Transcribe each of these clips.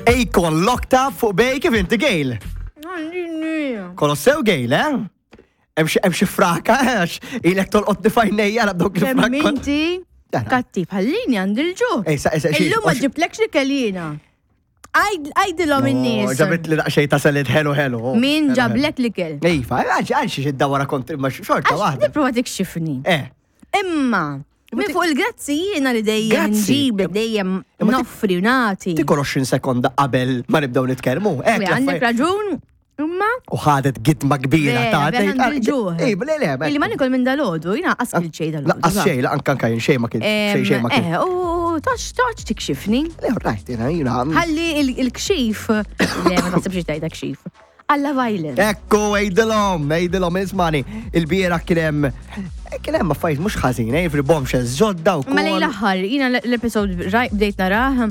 Akon locked up fuq bej kif inti Gail. Kolossew Gail, eh? Hemm xi fraka, eh, għax ilek tolqot nifajnejja għal dawk Kemm il-frak. inti kattiv ħallini għandi l-ġuħ. Ej, sa- sa- xi- Illum ma ġiblekx li kellina. Għajdilhom in-nies. Ġabit li daqsxejn ta' salid ħelu ħelu. oh, Min ħelu, ħelu. ġablek l-ikel? Iva, għal għal xi id-dawra kontri ma xorta Għax waħda. nipprova tikxifni. Eh, Imma, minn fuq il-grazzi jiena li dejjem Grazzi. nġibek, dejjem Imma tik- noffri u nagħti. tikol 20 sekonda qabel ma nibdew nitkellmu. Hekk Għandek l-affarijiet- raġun, imma U ħadet gitma kbira Vera, ta' vera għandi l-ġuħ. Ej, le, le, Illi ma nikol minn dalodu, jina qas kil xej dalodu. Laqqas xej, la anka anka jien xej ma kien. Xej xej ma kien. Eh, u toċ toċ tikxifni. Le, right, jina, jina. Ħalli il-kxif, le, ma taħsibx tajda kxif. Alla Violent. Ekku, ejdilom, ejdilom, ismani. Il-biera kienem, kienem affarijiet mux ħażin, eh, fil bombshells ġodda u Ma lejn kol. l-aħħar, jina l-episod rajt bdejt narah,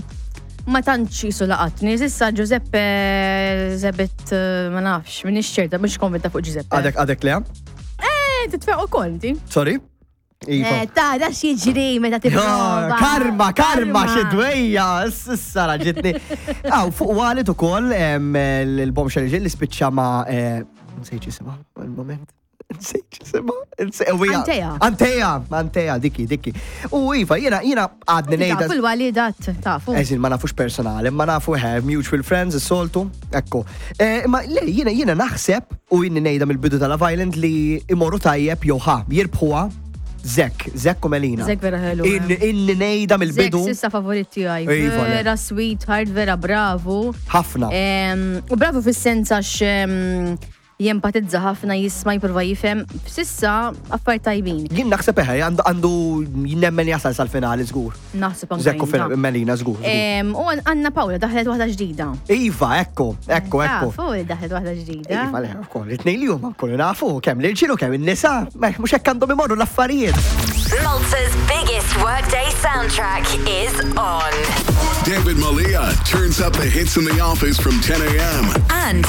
ma tantx jisu laqatni. Sissa Giuseppe zebet, eh, ma nafx, minix ċerta, mux konvinta fuq Giuseppe. Għadek, għadek le? Eh, titfeq u konti. Sorry? Iva. Eh, ta' da xieġri meta tipprova. Ja, Karma, karma, xidwejja, s-sara ġitni. Aw, fuq għalit u koll, il-bombshell ġil li spiċċa ma, eh, nsejt jisimha, il-moment. Nsejt jisimha. Antea. Antea, Antea, dikki, dikki. U Iva, jena, jena għadni nejda. Tafu l-walidat, tafu. Eżin, ma nafux personali, ma nafu eh, mutual friends, is-soltu, ekku. Eh, Ma le, jena, jena naħseb, u jien nejda mill-bidu tal-Love Island li imorru tajjeb jew ħa, jirbħuha Zek, Zek u Melina. Zek vera ħelu, Inni eh. inni nejda mill-bidu. Zek sissa favorit tiegħi. Iva, le. Vera sweetheart, vera bravu. Ħafna. Em, U bravu fis-sens għax em, jempatizza ħafna, jisma' jipprova jifhem. Sissa affarijiet tajbin. Jien naħseb eħe, għandu għandu nemmen jasal sal-finali żgur. Naħseb anke Zek u jien, Fil- ta. Melina żgur. żgur. Em, U Anna Paula daħlet waħda ġdida. Iva, ekku, ekku, ekku. Tafu li daħlet waħda ġdida. Iva, le, ukoll, it-tnejn li huma kollu nafu kemm l-irġiel u kemm in-nisa, mhux hekk għandhom imorru l-affarijiet. Malta's biggest workday soundtrack is on. David Malia turns up the hits in the office from 10 a.m. And